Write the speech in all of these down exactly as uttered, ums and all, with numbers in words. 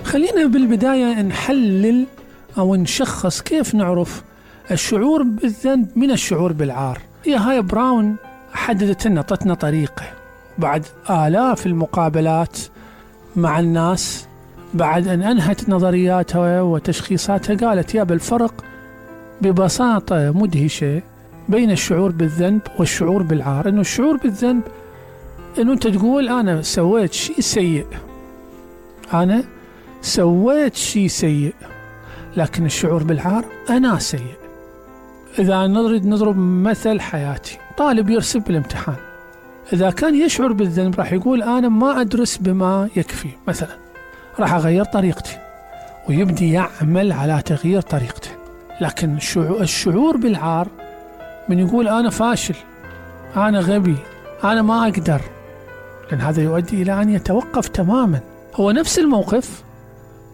خلينا بالبداية نحلل أو نشخص كيف نعرف الشعور بالذنب من الشعور بالعار. هي هاي براون حددت لنا، طتنا طريقة بعد آلاف المقابلات مع الناس، بعد أن أنهت نظرياتها وتشخيصاتها، قالت يا بالفرق ببساطة مدهشة بين الشعور بالذنب والشعور بالعار. إنه الشعور بالذنب إنه أنت تقول أنا سويت شيء سيء، أنا سويت شيء سيء، لكن الشعور بالعار أنا سيء. إذا نريد نضرب مثل حياتي، طالب يرسب بالامتحان، إذا كان يشعر بالذنب راح يقول أنا ما أدرس بما يكفي مثلا، راح أغير طريقتي ويبدي يعمل على تغيير طريقته. لكن الشعور بالعار من يقول أنا فاشل، أنا غبي، أنا ما أقدر، لأن هذا يؤدي إلى أن يتوقف تماما. هو نفس الموقف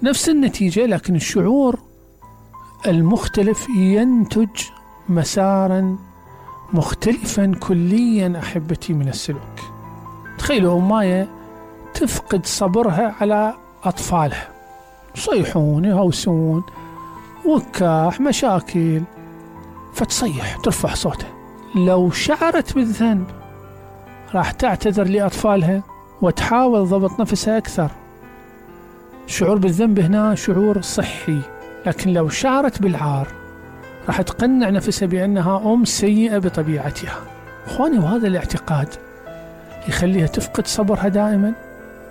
نفس النتيجة، لكن الشعور المختلف ينتج مسارا مختلفا كليا أحبتي من السلوك. تخيلوا أماية تفقد صبرها على أطفالها، يصيحون يهوسون وكاح مشاكل، فتصيح ترفع صوتها. لو شعرت بالذنب راح تعتذر لأطفالها وتحاول ضبط نفسها أكثر. الشعور بالذنب هنا شعور صحي، لكن لو شعرت بالعار راح تقنع نفسها بأنها أم سيئة بطبيعتها. أخواني، وهذا الاعتقاد يخليها تفقد صبرها دائما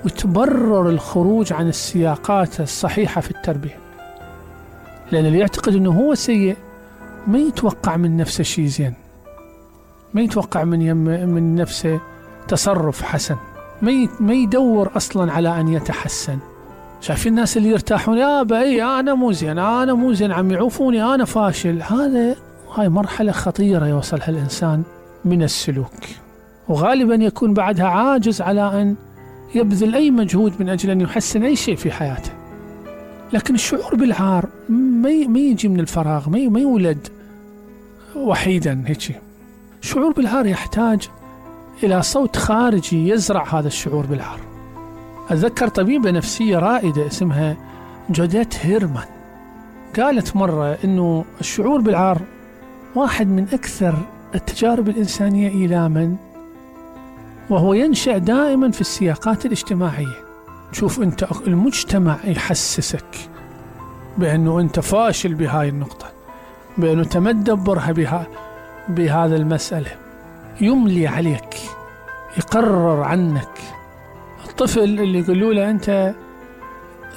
وتبرر الخروج عن السياقات الصحيحة في التربية، لأن اللي يعتقد أنه هو سيء ما يتوقع من نفسه شيء زين، ما يتوقع من يم من نفسه تصرف حسن، ما ما يدور أصلا على أن يتحسن. شايفين الناس اللي يرتاحون يا بأي أنا مو زين، أنا مو زين، عم يعوفوني، أنا فاشل. هذا هاي مرحلة خطيرة يوصلها الإنسان من السلوك، وغالبا يكون بعدها عاجز على أن يبذل أي مجهود من أجل أن يحسن أي شيء في حياته. لكن الشعور بالعار ما يجي من الفراغ، ما يولد وحيدا هيك. الشعور بالعار يحتاج إلى صوت خارجي يزرع هذا الشعور بالعار. أتذكر طبيبة نفسية رائدة اسمها جوديت هيرمان قالت مرة إنه الشعور بالعار واحد من أكثر التجارب الإنسانية إيلاما، وهو ينشأ دائما في السياقات الاجتماعية. شوف أنت المجتمع يحسسك بأنه أنت فاشل بهاي النقطة، بأنه تمدبرها بها بهذا المسألة، يملي عليك، يقرر عنك. الطفل اللي يقولوا له أنت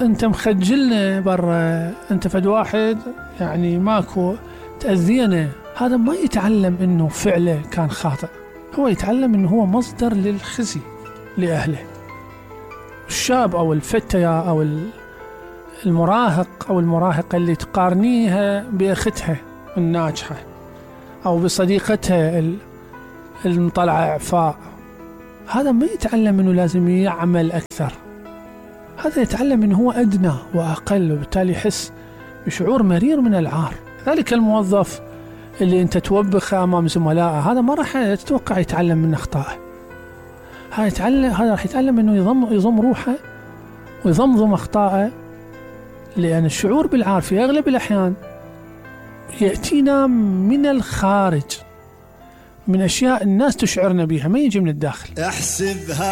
أنت مخجلنا برا، أنت فد واحد يعني ماكو تأذينا، هذا ما يتعلم إنه فعله كان خاطئ، هو يتعلم إنه هو مصدر للخزي لأهله. الشاب أو الفتية أو المراهق أو المراهقة اللي تقارنيها بأختها الناجحة أو بصديقتها المطلعة إعفاء، هذا ما يتعلم إنه لازم يعمل أكثر، هذا يتعلم إنه هو أدنى وأقل، وبالتالي يحس بشعور مرير من العار. ذلك الموظف اللي أنت توبخه أمام زملائه، هذا ما راح تتوقع يتعلم من أخطائه، هذا يتعلم هذا راح يتعلم إنه يضم يضم روحه ويضمضم أخطائه، لأن الشعور بالعار في أغلب الأحيان يأتينا من الخارج، من أشياء الناس تشعرنا بها، ما يجي من الداخل. احسبها